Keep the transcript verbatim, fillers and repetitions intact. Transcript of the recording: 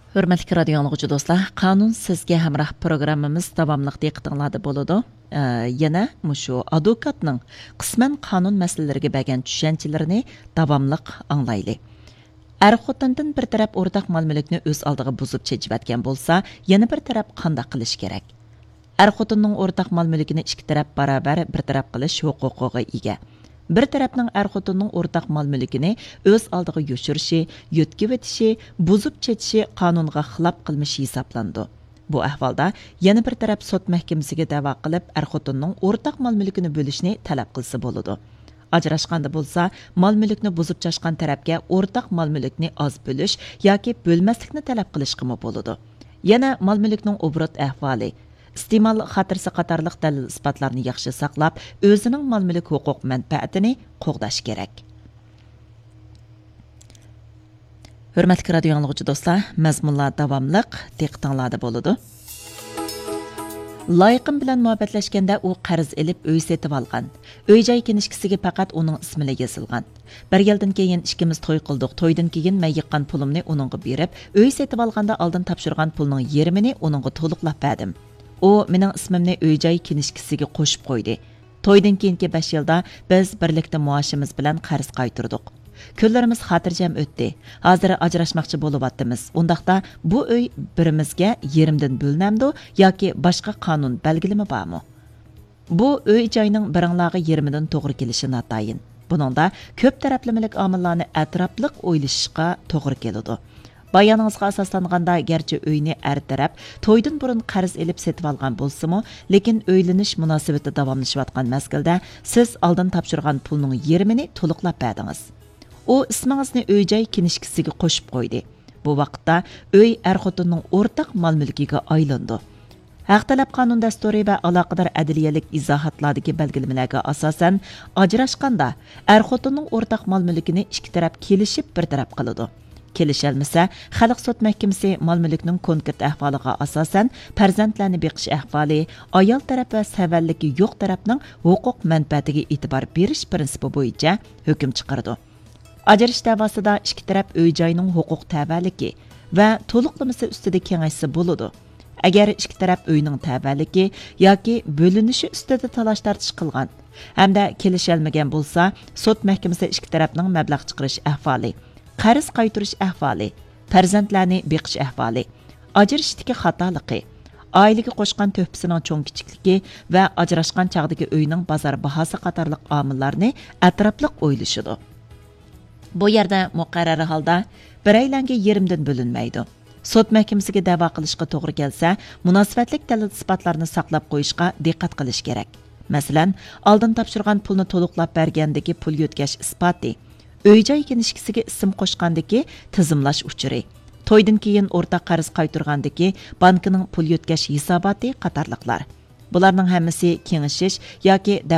ھۆرمەتلىك رادىيو ئاڭلىغۇچى دوستلار، قانۇن سىزگە ھەمراھ پروگراممىمىز داۋاملىق دىققىتىڭلاردا بولىدۇ. ئە، يەنە مۇشۇ ئادۋوكاتنىىڭ قىسمەن قانۇن مەسىلىلىرىگە بەرگەن چۈشەنچىلىرىنى داۋاملىق ئاڭلايلى. ئەر خوتۇندىن بىر تەرەپ ئورتاق مال مۈلۈكنى ئۆز ئالدىغا بۇزۇپ چېچىۋەتكەن بولسا، يەنە بىر تەرەپ قانداق قىلىشى كېرەك؟ ئەر خوتۇننىڭ ئورتاق مال مۈلكىنى ئىككى تەرەپ باراۋەر بىر تەرەپ قىلىش ھوقۇقىغا ئىگە. بىر تەرەپنىڭ ئەر خوتۇننىڭ ئورتاق مال مۈلكىنى ئۆز ئالدىغا يوشۇرۇشى، يۆتكىۋېتىشى، بۇزۇپ چېچىشى قانۇنغا خىلاپ قىلمىش ھېسابلىنىدۇ. بۇ ئەھۋالدا يەنە بىر تەرەپ سوت مەھكىمىسىگە دەۋا قىلىپ، ئەر خوتۇننىڭ ئورتاق مال مۈلكىنى بۆلۈشنى تەلەپ قىلسا بولىدۇ. ئاجراشقاندا بولسا، مال مۈلۈكنى بۇزۇپ چاچقان تەرەپكە ئورتاق مال مۈلۈكنى ئاز بۆلۈش ياكى بۆلمەسلىكنى تەلەپ قىلىشقىمۇ بولىدۇ. يەنە مال مۈلۈكنىڭ ئوبوروت ئەھۋالى، ئىستېمال خاتىرىسى قاتارلىق دەلىل-ئىسپاتلارنى ياخشى ساقلاپ، ئۆزىنىڭ مال-مۈلۈك ھوقۇق مەنپەئەتىنى قوغداش كېرەك. ھۆرمەتلىك رادىيو ئاڭلىغۇچى دوستلار، مەزمۇنلار داۋاملىق دىققىتىڭلاردا بولىدۇ. لايىقىم بىلەن مۇھەببەتلەشكەندە ئۇ قەرز ئېلىپ ئۆي سېتىۋالغان. ئۆي-جاي كىنىشكىسىگە پەقەت ئۇنىڭ ئىسمىلا يېزىلغان. بىر يىلدىن كېيىن ئىككىمىز توي قىلدۇق. تويدىن كېيىن مەن يىغقان پۇلۇمنى ئۇنىڭغا بېرىپ، ئۆي سېتىۋالغاندا ئالدىن تاپشۇرغان پۇلنىڭ يېرىمىنى ئۇنىڭغا تولۇقلاپ بەردىم. ئۇ مېنىڭ ئىسمىمنى ئۆي-جاي كىنىشكىسىگە قوشۇپ قويدى. تويدىن كېيىنكى بەش يىلدا بىز بىرلىكتە مائاشىمىز بىلەن قەرز قايتۇردۇق. كۈنلىرىمىز خاتىرجەم ئۆتتى. ھازىر ئاجراشماقچى بولۇۋاتىمىز. ئۇنداقتا بۇ ئۆي بىرىمىزگە يېرىمدىن بۆلۈنەمدۇ ياكى باشقا قانۇن بەلگىلىمە بارمۇ؟ بۇ ئۆي-جاينىڭ بىرىڭلارغا يېرىمىدىن توغرا كېلىشى ناتايىن. بۇنىڭدا كۆپ تەرەپلىمىلىك ئامىللارنى ئەتراپلىق ئويلىشىشقا توغرا كېلىدۇ. بايانىڭىزغا ئاساسلانغاندا، گەرچە ئۆينى ئەر تەرەپ تويدىن بۇرۇن قەرز ئېلىپ سېتىۋالغان بولسىمۇ، لېكىن ئۆيلىنىش مۇناسىۋىتى داۋاملىشىۋاتقان مەزگىلدە سىز ئالدىن تاپشۇرغان پۇلنىڭ يېرىمىنى تولۇقلاپ بەردىڭىز. ئۇ ئىسمىڭىزنى ئۆي-جاي كىنىشكىسىگە قوشۇپ قويدى. بۇ ۋاقىتتا ئۆي ئەر-خوتۇننىڭ ئورتاق مال-مۈلكىگە ئايلىنىدۇ. ھەق تەلەپ قانۇن دەستۇرى ۋە ئالاقىدار ئەدلىيەلىك ئىزاھاتلاردىكى بەلگىلىمىلەرگە ئاساسەن، ئاجراشقاندا ئەر-خوتۇننىڭ ئورتاق مال-مۈلكىنى ئىككى تەرەپ كېلىشىپ بىر تەرەپ قىلىدۇ. كېلىشەلمىسە، خەلق سوت مەھكىمىسى مال-مۈلۈكنىڭ كونكرېت ئەھۋالىغا ئاساسەن، پەرزەنتلەرنى بېقىش ئەھۋالى، ئايال تەرەپ ۋە سەۋەنلىكى يوق تەرەپنىڭ ھوقۇق مەنپەئەتىگە ئېتىبار بېرىش پىرىنسىپى بويىچە ھۆكۈم چىقىرىدۇ. ئاجرىشىش دەۋاسىدا ئىككى تەرەپ ئۆي-جاينىڭ ھوقۇق تەۋەلىكى ۋە تولۇقلىمىسى ئۈستىدە كېڭەشسە بولىدۇ. ئەگەر ئىككى تەرەپ ئۆينىڭ تەۋەلىكى ياكى بۆلۈنۈشى ئۈستىدە تالاش-تارتىش قىلغان ھەمدە كېلىشەلمىگەن بولسا، سوت مەھكىمىسى ئىككى تەرەپنىڭ مەبلەغ چىقىرىش ئەھۋالى، قەرز قايتۇرۇش ئەھۋالى، پەرزەنتلەرنى بېقىش ئەھۋالى، ئاجرىشىشتىكى خاتالىقى، ئائىلىگە قوشقان تۆھپىسىنىڭ چوڭ-كىچىكلىكى ۋە ئاجراشقان چاغدىكى ئۆينىڭ بازار باھاسى قاتارلىق ئامىللارنى ئەتراپلىق ئويلىشىدۇ. بۇ يەردە مۇقەررەر ھالدا بىرەيلەنگە يېرىمدىن بۆلۈنمەيدۇ. سوت مەھكىمىسىگە دەۋا قىلىشقا توغرا كەلسە، مۇناسىۋەتلىك دەلىل-ئىسپاتلارنى ساقلاپ قويۇشقا دىققەت قىلىش كېرەك. مەسىلەن، ئالدىن تاپشۇرغان پۇلنى تولۇقلاپ بەرگەندىكى پۇل يۆتكەش ئىسپاتى، ئۆي-جاي كىنىشكىسىگە ئىسىم قوشقاندىكى تىزىملاش ئۇچۇرى، تويدىن كېيىن ئورتاق قەرز قايتۇرغاندىكى بانكىنىڭ پۇل يۆتكەش ھېساباتى قاتارلىقلار. بۇلارنىڭ ھەممىسى كېڭىشىش ياكى